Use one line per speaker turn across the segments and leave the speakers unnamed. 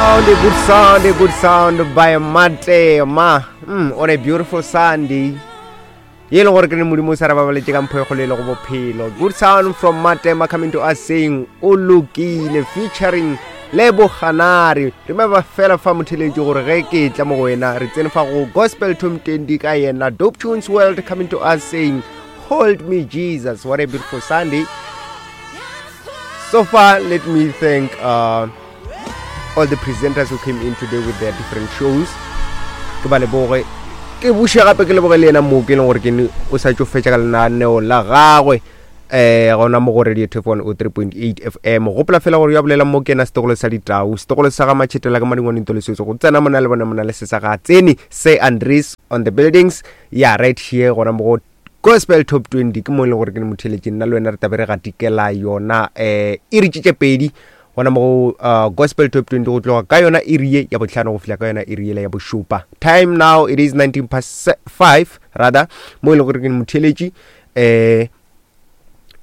Sound, a good sound, a good sound by Matema on a beautiful Sunday. Ye le gore ke ne modimo o sa re babaletše ka mpho e kgolo e le go bophelo. Good sound from Matema coming to us saying o lokile featuring Lebo Ganari. Remember fela fa motheletši gore ge ke tla mo go wena re tsene fa go Gospel Tom 20 ka yena Dope Tunes World coming to us saying hold me Jesus. What a beautiful Sunday. So far, let me thank all the presenters who came in today with their different shows. Ke ba leboge. Ke buše gape ke leboge le yena mo ke leng gore ke o sa tšo fetša ka lenaneo la gagwe eh gona mo go radio tef 103.8 fm gopola fela gore ya bolela mo ke yena setogolo sa ditau setogolo sa ga matšhetela ka madingwaneng tolesotso go tsena mona le bona mona le se sa ga tsene se andres on the buildings ya right here gona mo go Gospel Top 20 ke mo e leng gore ke ne motheletši nna le wena re tabe re gatikela yona um iri tše tše pedi gona mo go uh, Gospel Top 20 go tloga ka yona iri ye ya bohlano go fihla ka yona iri yela ya bošupa. Time now it is 19 past 5 rather mo e leng gore ke ne motheletši um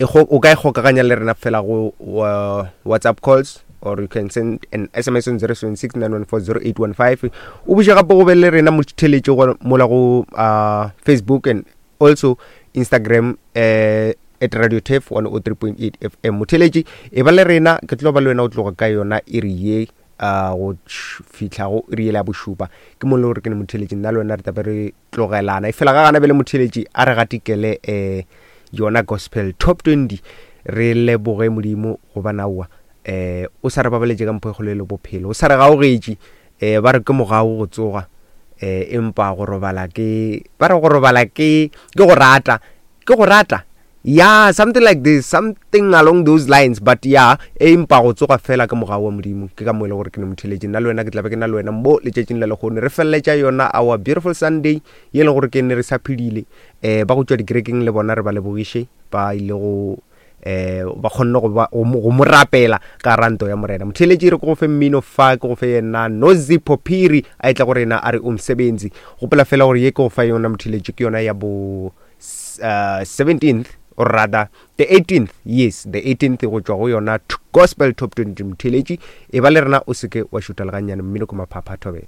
o ka ikgokaganya le rena fela go uh, WhatsApp calls or you can send an SMS on 076-914-0815. O buše gape go be le rena motheletši go mola go uh, Facebook and also Instagram uh, at Radio Turf 103.8 FM. Motheletši e ba le rena, ke tlo ba le wena o tloga ka yona iri ye uh, go fihla go iri yela ya bošupa. Ke mo le gore ke ne motheletši nna le wena re tlabe re tlogelana. E fela ga gana bjale motheletši a re gatikele um yona Gospel Top 20 re leboge Modimo gobane aowa um o sa re babaletše ka mpho e kgolo e le bophelo, o sa re gaogetše um ba re ke mogau go tsoga um empa go robala ke ba re go robala ke ke go rata ke go rata ya something like this something along those lines but ya empa go tsoga fela ke mogau wa Modimo. Ke ka mo e le gore ke ne motheletši nna le wena ke tla be ke na le wena mo letšatšing la lehono re feleletša yona our beautiful Sunday ye e le gore ke ne re sa phedile um ba go tšwa dikerekeng le bona re ba lebogiše ba ile go um ba kgonne go ba go mo rapela ka ranto ya morena. Motheletši re ke go fe mmino fa ke go fe yena Nozipho Phiri a etla go rena a re umsebenzi. Gopola fela gore ye ke go fa yona motheletši ke yona ya bo uh, 17th or rather the 18th, yes the 18th go tšwa go yona Gospel Top 20. Motheletši e ba le rena o seke wa šutha le gannyane mmino ke maphapha thobela.